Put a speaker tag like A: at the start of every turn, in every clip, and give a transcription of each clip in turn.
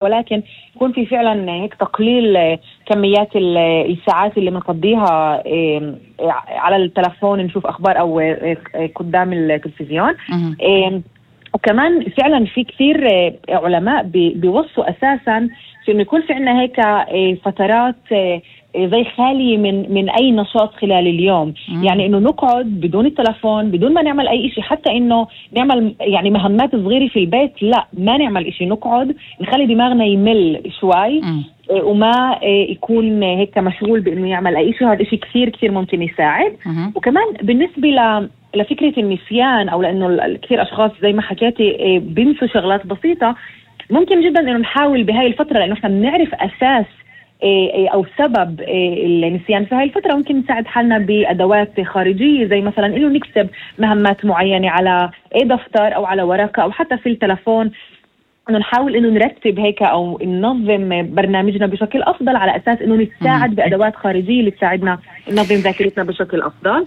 A: ولكن يكون في فعلا هيك تقليل كميات الساعات اللي بنقضيها على التلفون نشوف أخبار أو قدام التلفزيون. وكمان فعلا في كثير علماء بيوصوا أساسا في إنه يكون في عنا هيك فترات زي خالية من أي نشاط خلال اليوم. يعني إنه نقعد بدون التلفون، بدون ما نعمل أي إشي، حتى إنه نعمل يعني مهمات صغيرة في البيت، لا ما نعمل إشي، نقعد نخلي دماغنا يمل شوي وما يكون هيك مشغول بإنه يعمل أي إشي. هذا إشي كثير كثير ممكن يساعد. وكمان بالنسبة لفكرة النسيان، أو لأنه كثير أشخاص زي ما حكيتي بينسوا شغلات بسيطة، ممكن جدا إنه نحاول بهاي الفترة، لأنه إحنا بنعرف أساس أو سبب النسيان في هاي الفترة. ممكن نساعد حالنا بأدوات خارجية، زي مثلا إنه نكتب مهمات معينة على دفتر أو على ورقة أو حتى في التلفون، إنه نحاول إنه نرتب هيك أو ننظم برنامجنا بشكل أفضل، على أساس إنه نتساعد بأدوات خارجية اللي تساعدنا ننظم ذاكرتنا بشكل أفضل.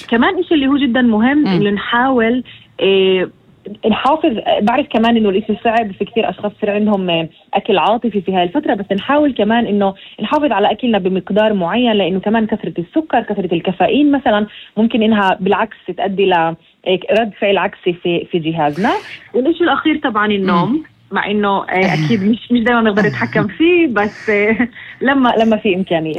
A: كمان إشي اللي هو جدا مهم إنه نحاول نحافظ. بعرف كمان إنه الإشي صعب، في كثير أشخاص صار عندهم أكل عاطفي في هاي الفترة، بس نحاول كمان إنه نحافظ على أكلنا بمقدار معين، لأنه كمان كثرة السكر، كثرة الكافيين مثلا ممكن إنها بالعكس تؤدي لرد فعل عكسي في جهازنا. والإشي الأخير طبعا النوم، مع إنه أكيد مش دائما نقدر نتحكم فيه، بس لما في إمكانية.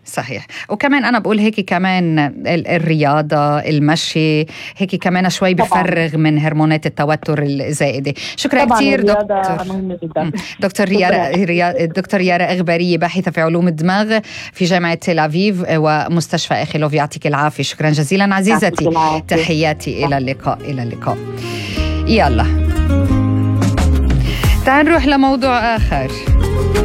B: صحيح. وكمان أنا بقول هيك كمان الرياضة، المشي، هيك كمان شوي بفرغ من هرمونات التوتر الزائدة. شكرا كثير دكتور يارا إغبارية، باحثة في علوم الدماغ في جامعة تل أبيب ومستشفى إخيلوف. يعطيك العافية. شكرا جزيلا عزيزتي. تحياتي. إلى اللقاء. يلا تعال نروح لموضوع آخر.